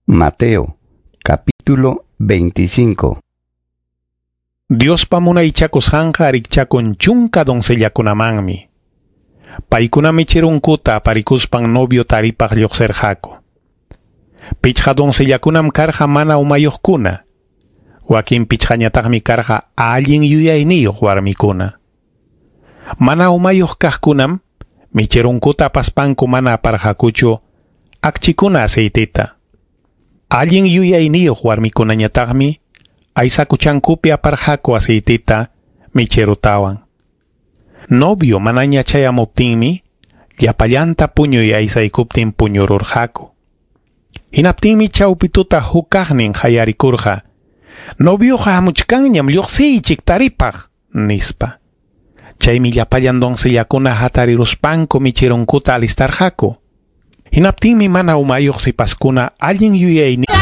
Mateo, capítulo 25. Diospa munaychakusqanqa rikchakun chunka doncellakunamanmi. Paykuna michirunkuta aparikuspan novio taripaq lluqsirqaku. Pichqa doncellakunam karqa mana umayuqkuna. Wakin pichqañataqmi karqa allin yuyayniyuq warmikuna. Mana umayuq kaqkunam michirunkuta apaspanku mana aparqakuchu akchikuna aceiteta. Allin yuyayniyuq warmikunañataqmi aysakuchankupi aparqaku aceiteta michirutawan. Novio manaña chayamuptinmi llapallanta puñuy aysaykuptin puñururqaku. Hinaptinmi chawpi tuta huk kaqnin qayarikurqa: "Novioqa hamuchkanñam, lluqsiychik taripaq", nispa. Chaymi llapallan doncellakuna hatariruspanku michirunkuta alistarqaku. Hinaptinmi mana umayuq sipaskuna allin yuyayniyuq